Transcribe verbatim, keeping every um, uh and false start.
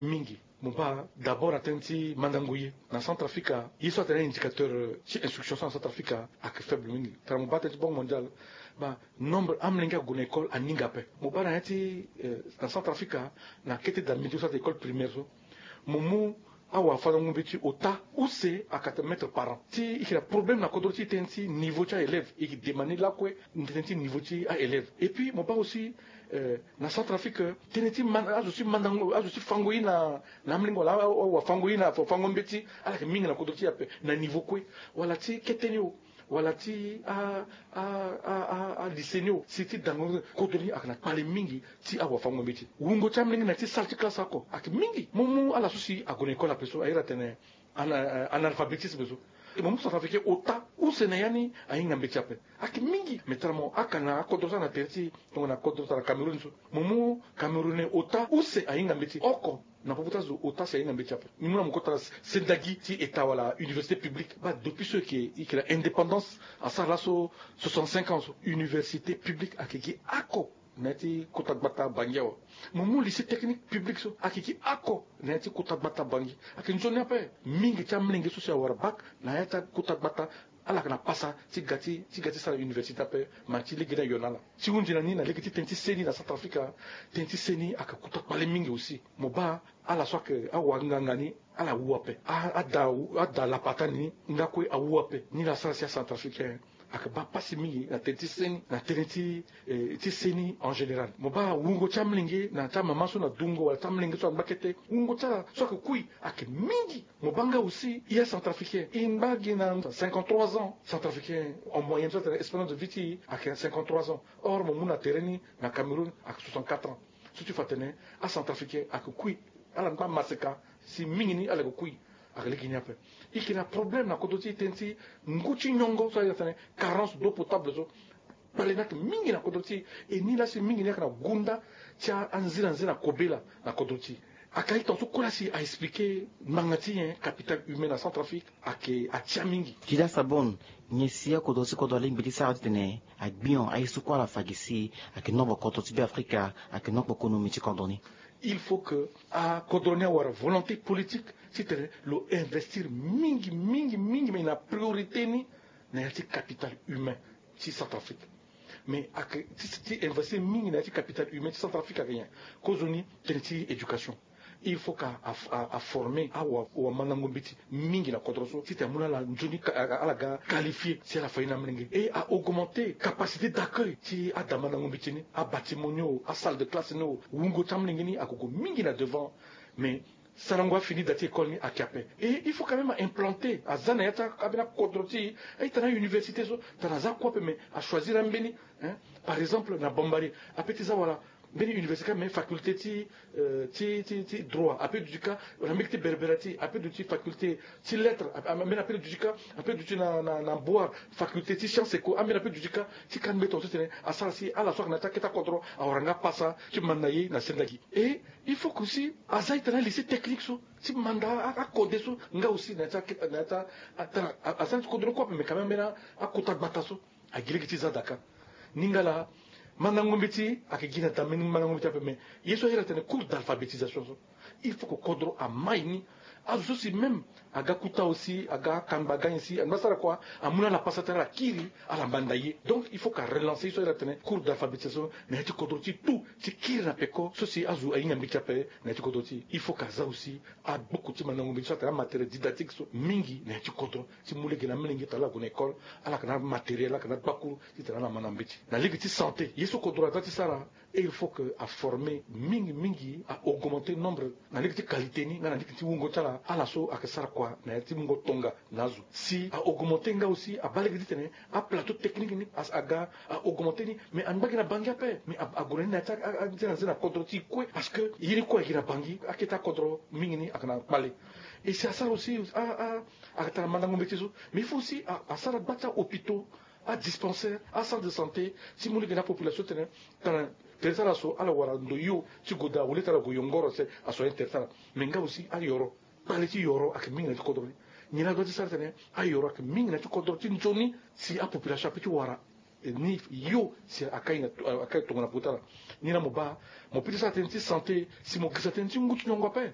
Mingi. Mo baa d'abord na tënë ti mandango ye na Centrafrique, ye so atene indicateur ti instruction so na Centrafrique ayeke faible mingi. Tara mo baa tënë ti Banque Mondiale, baa nombre amolenge ague na école aninga ape. Mo baa na ya ti na Centrafrique, na kete da midi so ate école primaire so, mo mu awafandango mbeti ota use ayeke ata mètre par an. Ti e yeke na problème na kodro ti e tënë ti niveau ti a-élève, e yeke demande lakue tënë ti niveau ti a-élève. Et puis mo baa aussi na Centrafrique, tënë ti azo ti mandango, azo ti fango ye na amolenge wala awafango ye na fango mbeti, ala yeke mingi na kodro ti e ape. Na niveau kue, wala ti kete ni o, wala ti a a a a a lycée ni o, si ti dango kodro ni ayeke na kpale mingi ti awafango mbeti. Wungo ti amolenge na ya ti salle ti classe oko ayeke mingi. Mo mu ala so si ague na école ape so, a iri atene analphabétisme so. Mo mu Centrafricain ota use na ya ni ahinga mbeti ape, ayeke mingi. Mais tara mo aka na akodro so na tere ti e, tongana kodro tara Cameroun so, mo mu Camerounais ota use ahinga mbeti oko. Na popo ti azo ota si ahinga mbeti ape. Ni mu na mo kota na sendagi ti état wala université publique, baa depuis so e yeke na indépendance asara laso soixante-cinq ans so, université publique ayeke gi oko na ya ti kota gbata Bangui awe. Mo mu lycée technique public so, ayeke gi oko na ya ti kota gbata Bangui. Ayeke nzoni ape. Mingi ti amolenge so si awara bac na ya ti akota gbata, ala yeke na pasa ti ga ti ti ga ti sara université ape, ma ti lege ni ayo na ala. Ti hunzi na ni na lege ti tënë ti seni na Centrafrique, tënë ti seni ayeke kota kpale mingi aussi. Mo baa ala so ayeke awanganga ni, ala wu ape. A ada ada lapata ni nga kue awu ape. Ni la sara si aCentrafricain ayeke baa pasi mingi na tënë ti seni, na tënë ti ti seni en général. Mo baa wungo ti amolenge na ti amama so na dungo wala ti amolenge so angba kete, wungo ti ala so ayeke kui ayeke mingi. Mo baa nga aussi, e aCentrafricain e ngba gi na cinquante-trois ans. Centrafricain en moyenne so atene espérance de vie ti e ayeke cinquante-trois ans. Or mo mu na tere ni na Cameroun ayeke soixante-quatre ans. So ti fa atene aCentrafricain ayeke kui, ala ngba maseka si mingi ni ala yeke kui. Ayeke lege ni ape. E yeke na problème na kodro ti e tënë ti ngu ti nyongo so a iri atene carence d'eau potable so. Kpale ni ayeke mingi na kodro ti e. E ni laa si mingi ni ayeke na gunda ti anzinanzi na kobela na kodro ti e. Ayeke aye tongaso kue laa si a expliqué ngbanga ti nyen capital humain na Centrafrique ayeke atia mingi. Ti laa Sabon, nyen si akodro ti kodro alingbi ti sara titene agbion aye so kue ala fa gi si ayeke nongo kodro ti Beafrika, ayeke nongo konomi ti kodro ni? Il faut que akodro ni awara volonté politique titene lo investir mingi mingi mingi, mais na priorité ni na ya ti capital humain ti Centrafrique. Mais ayeke ti ti investir mingi na ya ti capital humain ti Centrafrique ayeke nyen? Kozoni tënë ti éducation. Il faut que a a a former awa awamandango mbeti mingi na kodro so titene amu na ala nzoni, ala ga qualifié si ala fa ye na amolenge. Et a augmenter capacité d'accueil ti adamandango mbeti ni, abâtiment ni o, asalle de classe ni o. Wungo ti amolenge ni ague gue mingi na devant. Mais sarango afini da ti école ni ayeke ape. Et il faut quand même a implanter, aza na ya ti ambeni akodro ti e, a-ita na université so, tongana aza kue ape mais a choisir ambeni. Par exemple na Bambari ape ti za wala mbeni université kâ, mais faculté ti ti ti ti droit ape duti kâ. Na mbeni ti Berbera ti ape duti faculté ti lettres, ambeni ape duti kâ, ape duti na na na Boar faculté ti science éco, ambeni ape duti kâ. Ti kâ mbeni tongaso titene asara si ala so ayeke na ya ti akete akodro awara nga pasa ti manda ye na sendagi. Et il faut que aussi aza ita na lycée technique so ti manda akode so nga aussi na ya ti akete na ya ti a tara aza na ti kodro ni kue ape, mais quand même ambeni akota gbata so agi lege ti za daa kâ. Ni nga laa mandango mbeti ayeke gi na da mbeni mandango mbeti ape, mais ye so a iri atene cours d'alphabétisation so, il faut que kodro amai ni. Azo so si même aga kuta aussi, aga kangba aga nyen si angba sara kua, amu na ala pasa ti ala kiri ala manda ye. Donc il faut que a relancer ye so a iri atene cours d'alphabétisation na ya ti kodro ti e tout, ti kiri na peko so si azo ahinga mbeti ape na ya ti kodro ti e. Il faut que aza aussi agboko ti mandango mbeti so atene amatériel didactique so mingi na ya ti kodro ti mu lege na amolenge tongana ala gue na école, ala yeke na amatériel, ala yeke na agbakuru titene ala manda mbeti. Na lege ti santé, ye so kodro aza ti sara, il faut que a former mingi mingi, a augmenter nombre na lege ti qualité ni nga na lege ti wungo ti ala, ala so ayeke sara kua na ya ti mungo tonga na azo. Si a augmenter nga aussi, abaa lege titene aplateau technique ni aga a augmenter ni, mais angba gi na Bangui ape, mais ague na ni na ya ti anze na nze na kodro ti e kue, parce que ye ni kue agi na Bangui, akete akodro mingi ni ayeke na kpale. Et si asara aussi a a ayeke tara mandango mbeti so, mais il faut aussi asara gba ti ahôpitaux, adispensaire, acentre de santé, ti mu lege na apopulation titene tara tere ti ala so ala wara ndo hio ti gue daa, au lieu ti ala gue yongoro se asoigner tere ti ala. Mais nga aussi ayoro, kpale ti yoro ayeke mingi na ya ti kodro ni. Nyen la dua ti sara titene ayoro ayeke mingi na ya ti kodro ti nzoni si apopulation apeut ti wara Ni yo si akai na akai tongo na pota la. Ni la mo ba mo pita sara tënë ti santé si mo girisa tënë ti ngu ti nyongo ape.